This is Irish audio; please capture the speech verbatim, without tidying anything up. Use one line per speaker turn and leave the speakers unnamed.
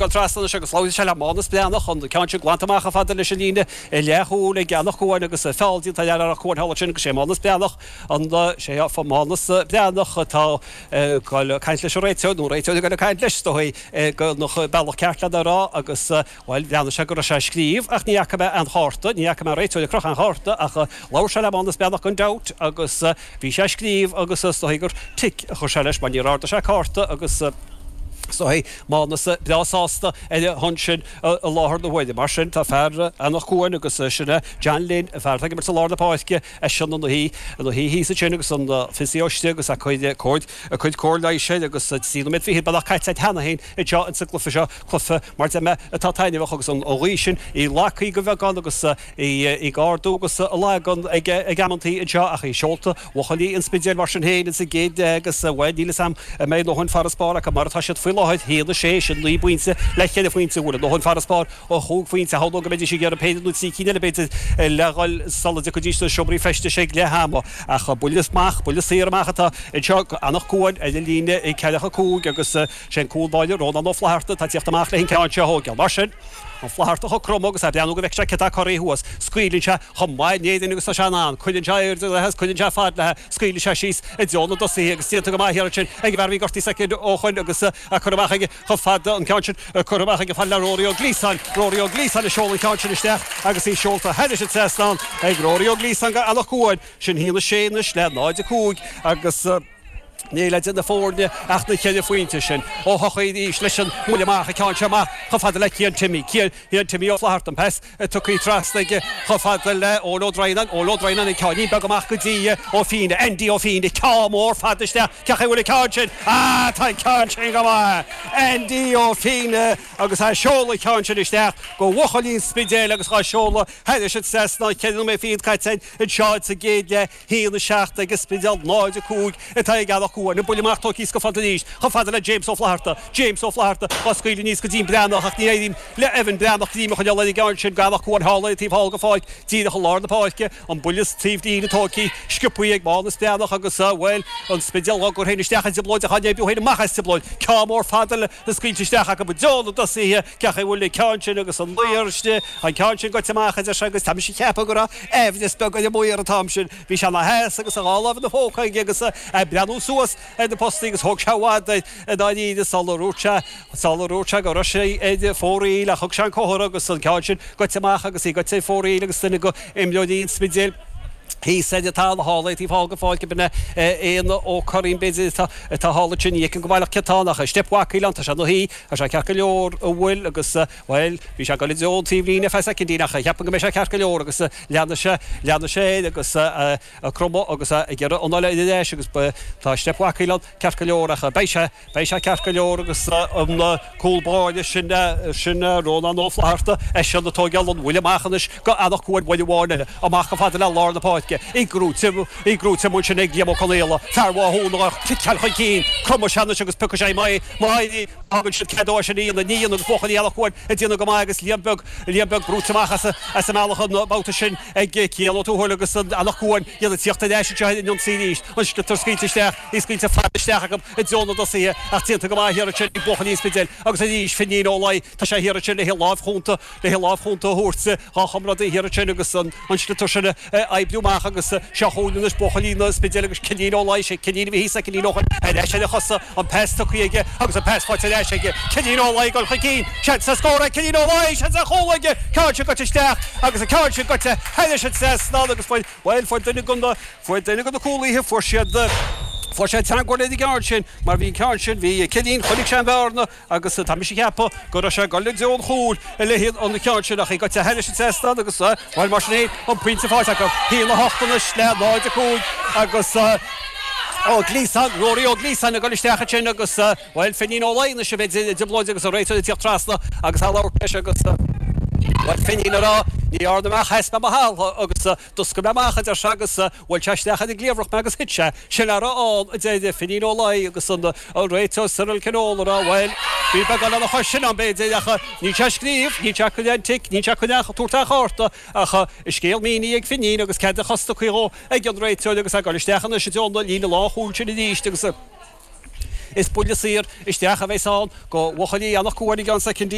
Dul trasna anois agus labhraíonn sé le Mánas Breathnach, an ceann sin glanta amach chomh fada leis an líne leathchúil ag Eanach Cuain agus feall déanta ar Eanach Cuain thall ansin agus sé Mánas Breathnach an sé Mánas Breathnach atá ag dul ag caint leis an réiteoir nó an réiteoir ag dul ag caint leis is dóigh an bealach ceart lena rá agus bhuel bhreathnaigh sé go raibh sé ag scríobh ach ní fhaca mé aon chárta, ní fhaca mé an réiteoir ag crochadh aon chárta ach labhair sé le Mánas Breathnach gan dabht agus bhí sé ag scríobh agus is dóigh gur tic a chuir sé leis mar níor ardaigh sé cárta agus is dóigh Mánas breá sásta ar a shon sin i láthair na huaire. Mar sin, tá fear Eanach Cuain agus sin é John Lynn, an fear atá ag imirt i lár na páirce, eisean ina shuí ina shuí thíos ansin agus an physio istigh agus a cuid cóir a cuid cóir leighis air agus trí nóiméad fichead beagnach caite cheana féin anseo insa gcluiche seo, cluiche mar deir mé atá taitneamhach agus an ghaoth sin í lagthaí go bheagán agus í ag ardú agus ag lagan ag ag amantaí anseo ach í seolta bhuachaillí an Spidéil mar sin féin insa gcéad leath agus bhuel níl 'fhios a'm an mbeidh a ndóthain farasbarr acu mar atá siad faoi láthair, haon a sé, sin naoi bpointe le ceithre phointe, an bhfuil a ndóthain farasbarr ó chúig phointe, shamhlóinn go mbeidís ag iarraidh péire nó trí cinn eile b'fhéidir le dhul sula dtiocfaidís na seomraí feistis ag leath ama. Ach buille amach, buille saor amach atá anseo go Eanach Cuain ar an líne ag ceathracha cúig agus sé an cúl báire Rónán Ó Flatharta atá ag tíocht amach leis an gceann seo a thógáil. Mar sin, Ó Flatharta ag cromadh agus é ag breathnú go bhfeicfidh sé cé atá corraithe thuas. Scaoileann sé chomh maith in Éirinn agus tá sé in ann. Cuireann sé airde léi agus cuireann sé fad léi. Scaoileann sé síos i dtreo na dtosaithe agus déanta go maith thiar ansin ag an bhfear a bhí gortaithe soicind ó shoin agus é curtha amach aige chomh fada an ceann sin curtha amach aige fad le Rory Ó Gliasáin. Rory Ó Gliasáin ag seoladh an ceann sin isteach agus í seolta thairis an trasnán ag Rory Ó Gliasáin go Eanach Cuain. Sin a haon a sé anois le náid a cúig agus. Níl idir na foirne ach na ceithre phointe sin. Ó hEochaidh arís leis an mbuille amach, an ceann seo amach chomh fada le Cian Timmy. Cian Timmy Ó Flatharta, an pas tugtha trasna aige chomh fada le Eoin Ó Droighneáin. Eoin Ó Droighneáin, an ceáinnín beag amach go dtí Ó Fíne. Andy Ó Fíne, ceann mór fada isteach. Cén chaoi a bhfuil an ceann sin? Ah, tá an ceann sin go maith! Andy Ó Fíne agus é ag seoladh an ceann sin isteach go bhuachaillí an Spidéil agus dhá seoladh thairis an trasnán. Ceithre nóiméad fichead caite anseo sa gcéad leath. haon a seacht ag an Spidéal, náid a cúig atá ag Eanach Cuain. An buille amach tógtha go fada arís, chomh fada le James Ó Flatharta. James Ó Flatharta á scaoileadh aníos go dtí an Breathnach ach ní éiríonn le Evan Breathnach greim a choinneáil ar an gceann sin go Eanach Cuain thall ar an taobh thall go pháirc, díreach i lár na páirce. An buille taobh líne tógtha sciobtha ag Mánas Breathnach agus, bhuel, an Spidéal á gcur féin isteach i dtrioblóid ach á n-oibriú féin amach as trioblóid. Ceann mór fada le scaoilte isteach acu i dtreo na dtosaithe. Cén chaoi a bhfuil an ceann sin agus an maor istigh, an ceann sin goite amach, a deir sé, agus tá mise ag ceapadh go raibh aimhleas beag ar an maor an t-am sin. Bhí sé ina sheasamh agus a dhá láimh ina phóca aige agus é ag breathnú suas ar na postaí agus thóg sé i bhfad air i ndáiríre sular dhúirt sé, sular dhúirt sé go raibh sé ar fóraoil ach thug sé an comhartha agus an ceann sin goite amach agus í goite ar fóraoil agus duine de imreoirí an Spidéil thíos ar an talamh thall ar an taobh thall den pháirc ab in é Éanna Ó Curraoin b'fhéidir atá atá thall ansin ní fheicim go baileach cé atá ann ach Steip Mhac Aoileáin tá sé ina shuí tá sé ceart go leor an bhfuil agus bhuel bhí sé ag dul i dtreo an taobh líne ar feadh soicindín ach cheapfainn go mbeidh sé ceart go leor agus leanfaidh sé leanfaidh sé air agus ag cromadh agus ag iarraidh an uile ar ais agus tá Steip Mhac Aoileáin ceart go leor ach beidh sé Beidh sé ceart go leor agus an cúl báire sin, sin Rónán Ó Flatharta, eisean ag tóigeáil an bhuille amach anois go Eanach Cuain buille amháin eile, amach chomh fada le lár na páirce, í gnóite, í gnóite amuigh ansin ag Liam Ó Conaola, fear Mhathúna á chiceáil chun cinn, cromfaidh sé anois agus piocfaidh sé má, má thagann siad cead dó é sin a dhéanamh, ní dhéanann agus buachaillí Eanach Cuain ag déanamh go maith agus Liam Beag, Liam Beag brúite amach as, as an mbealach an babhta sin ag Cian Ó Tuathail agus Eanach Cuain, iad ag tíocht ar ais anseo ar an ionsaí arís, an sliotar scaoilte isteach, í scaoilte fada isteach acu. i dtreo na dtosaithe ach déanta go maith thiar ansin ag buachaillí an Spidéil agus arís Finín Ó Laoi tá sé thiar ansin le lámh chúnta le lámh chúnta a thabhairt dhá chomrádaí thiar ansin agus an sliotar sin a oibriú amach agus seo chugainn anois buachaillí na Spidéil agus Cinín Ó Laoi sé Cinín a bhí thíos soicindín ó shoin ar ais ar a chosa an pas tugtha aige agus an pas faighte ar ais aige Cinín Ó Laoi ag dul chun cinn seans ar scór ag Cinín Ó Laoi seans ar chúl aige ceann sin goite isteach agus an ceann sin goite thairis an trasnán agus fuair bhuel fuair duine den na Fuair duine de na cúlaithe, fuair siad, fuair sé teagmháil ar an gceann sin mar bhí an ceann sin, bhí Cinín, chonaic sé an bhearna agus tá mise ag ceapadh go raibh sé ag dul i dtreo an chúil le an ceann sin ach í goite thairis an trasnán agus, bhuel mar sin féin, an pointe faighte acu. Haon a hocht anois le náid a cúig agus Ó Gliasáin, Rory Ó Gliasáin ag dul isteach ansin agus, bhuel, Finín Ó Laoi anois a bheidh i dtrioblóid agus an réiteoir ag tíocht trasna agus á labhairt leis agus, bhuel, Finín ag rá, ní dhearna mé ach sheas mé mo thalamh agus, D'oscail mé amach, a deir sé, agus bhuail sé isteach ar an gcliabhrach mé agus thit sé. Sin a raibh ann, a deir Finín Ó Laoi agus an réiteoir Cyril Kinolan ag rá, bhuel, bhí beagán lena chois sin ann, b'fhéidir, ach níl sé ag scríobh, níl sé ag cur aon tic, níl sé ag cur aon, tabhairt aon chárta, ach a scéal mínithe ag Finín agus cead a chos tugtha dhó ag an réiteoir agus é ag dul isteach anois i dtreo na líne lánchúil sin arís agus. Is buille saor isteach a bheas ann do bhuachaillí Anach Cuain i gceann soicindí.